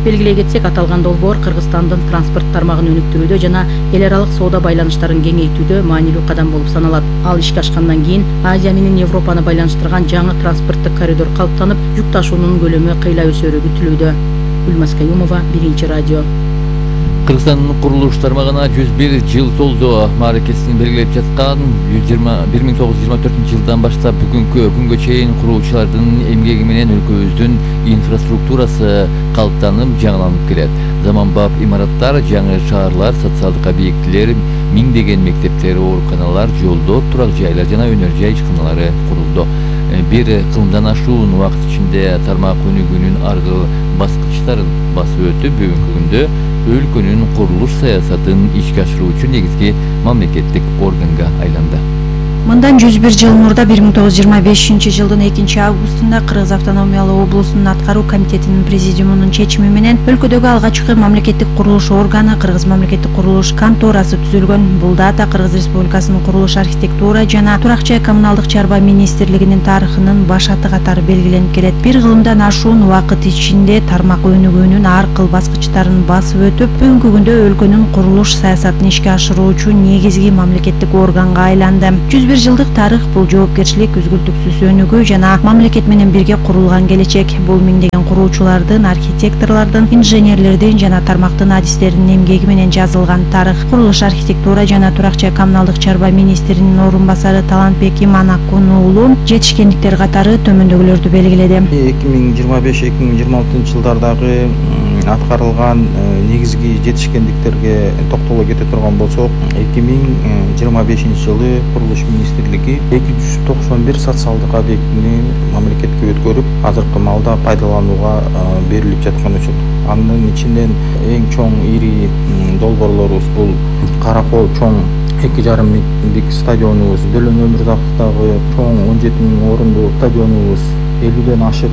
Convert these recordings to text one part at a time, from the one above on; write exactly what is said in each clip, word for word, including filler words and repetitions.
Белгилей кетсек, аталган долбоор Кыргызстандын транспорт тармагын өнүктүрүүдө жана эл аралык соода байланыштарын кеңейтүүдө маанилүү кадам болуп саналат. Ал ишке ашкандан кийин Азия менен Европаны байланыштырган жаңы транспорттук коридор калыптанып, жүк ташуунун көлөмү кыйла өсөрү күтүлүүдө. Гүлмаз Каюмова, Биринчи радио. Кыргызстандын курулуш тармагына жүз бир жыл толду мааракесин белгилеп жаткан бир миң тогуз жүз жыйырма төртүнчү жылдан баштап бүгүнкү күнгө чейин курулуучулардын эмгеги менен өлкөбүздүн инфраструктурасы калыптанып, жаңыланып келет. Заманбап имараттар, жаңы шаарлар, социалдык объектилер, миңдеген мектептер, ооруканалар, жолдор, турак жайлар жана өнөр жай ишканалары курулду. Бир кылымдан ашуун убакыт ичинде тармак өнүгүүнүн аркы баскычтарын басып өтүп, бүгүнкү күндө өлкөнүн курулуш саясатын ишке ашыруучу негизги мамлекеттик органга айланды. Мындан жүз бир жыл мурда бир миң тогуз жүз жыйырма бешинчи жылдын экинчи августунда Кыргыз автономиялык облусунун аткаруу комитетинин президиумунун чечими менен өлкөдөгү алгачкы мамлекеттик курулуш органы Кыргыз мамлекеттик курулуш конторасы түзүлгөн. Бул дата Кыргыз Республикасынын курулуш, архитектура жана турак жай коммуналдык чарба министрлигинин тарыхынын башаты катары белгиленип келет. Бир кылымдан ашуун убакыт ичинде тармак өнүгүүнүн ар кыл баскычтарын басып өтүп, бүгүнкү күндө өлкөнүн курулуш саясатын ишке ашыруучу негизги мамлекеттик органга айланды. жүз бир жылдык тарых бул жоопкерчилик, үзгүлтүксүз өнүгүү жана мамлекет менен бирге курулган келечек. Бул миңдеген куруучулардын, архитекторлордун, инженерлердин жана тармактын адистеринин эмгеги менен жазылган тарых. Курулуш, архитектура жана турак жай коммуналдык чарба министринин орун басары Талантбек Иманакун уулу жетишкендиктер катары төмөндөгүлөрдү белгиледи. эки миң жыйырма беш эки миң жыйырма алтынчы жылдардагы аткарылган негизги жетишкендиктерге токтоло кете турган болсок, эки миң жыйырма бешинчи жылы курулуш министрлиги эки жүз токсон бир социалдык объектини мамлекетке өткөрүп, азыркы малда пайдаланууга берилип жаткан учут. Анын ичинен эң чоң ири долбоорлорубуз бул Каракол чоң эки жарым миңдик стадионубуз, Дөлөн Өмүрзаковдагы чоң он жети миң орунду стадионубуз, элүүдөн ашык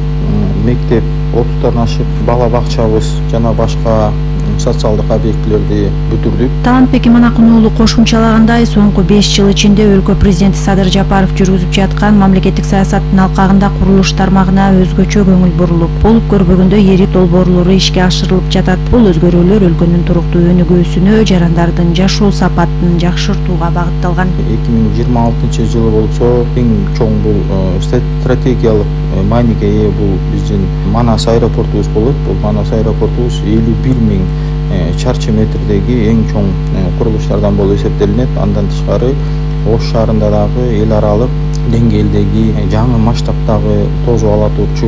мектеп, отуздан ашык бала бакчабыз жана башка социалдык объектилерди бүтүрдүк. Талантбек Иманакун уулу кошумчалагандай, соңку беш жыл ичинде өлкө президенти Садыр Жапаров жүргүзүп жаткан мамлекеттик саясаттын алкагында курулуш тармагына өзгөчө көңүл бурулуп, болуп көрбөгөндө эрип долбоорлору ишке ашырылып жатат. Бул өзгөрүүлөр өлкөнүн туруктуу өнүгүүсүнө, жарандардын жашоо сапатын жакшыртууга багытталган. эки миң жыйырма алтынчы жылы болсо, эң чоң бул стратегиялык мааниге ээ бул биздин Манас аэропортубуз болот. Бул Манас аэропортубуз элүү бир миң чарчы метрдеги эң чоң курулуштардан болуп эсептелинет. Андан тышкары Ош шаарында дагы эл аралык деңгээлдеги жаңы масштабтагы тосуп ала турчу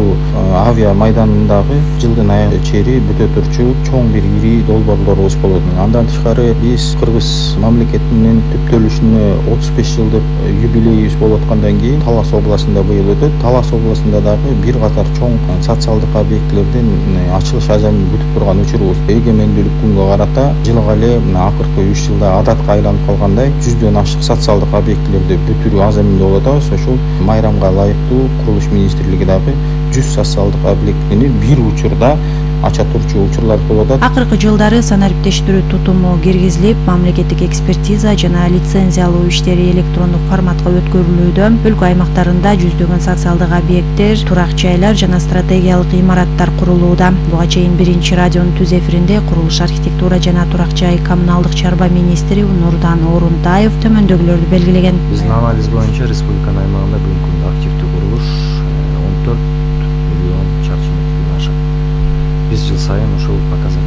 авиа майданындагы жылдын аягына чейин бүтө турчу чоң бир ири долбоорлорубуз болот. Андан тышкары биз Кыргыз мамлекетинин түптөлүшүнө отуз беш жылдык юбилейибиз болуп аткандан кийин Талас областында быйыл өтөт. Талас областында дагы бир катар чоң социалдык объектилердин ачылыш азамын күтүп турган учурубуз. Эгемендүүлүк күнгө карата жылга эле акыркы үч жылда адатка айланып калгандай жүздөн ашык социалдык объектилерди бүтүрүү азамында болуп атабыз. Ошол майрамга ылайыктуу курулуш министрлиги дагы жүз социалдык объектини бир учурда ача турчу учурлар болуп атат. Акыркы жылдары санариптештирүү тутуму киргизилип, мамлекеттик экспертиза жана лицензиялоо иштери электрондук форматка өткөрүлүүдө. Өлкө аймактарында жүздөгөн социалдык объекттер, турак жайлар жана стратегиялык имараттар курулууда. Буга чейин Биринчи радионун түз эфиринде курулуш, архитектура жана турак жай коммуналдык чарба министри Нурдан Орунтаев төмөндөгүлөрдү белгилеген. Биздин анализ боюнча республиканын аймагында бүгүнкү күндө активдүү курулуш он төрт миллион чарчы метрден ашат. Биз жыл сайын ушул пока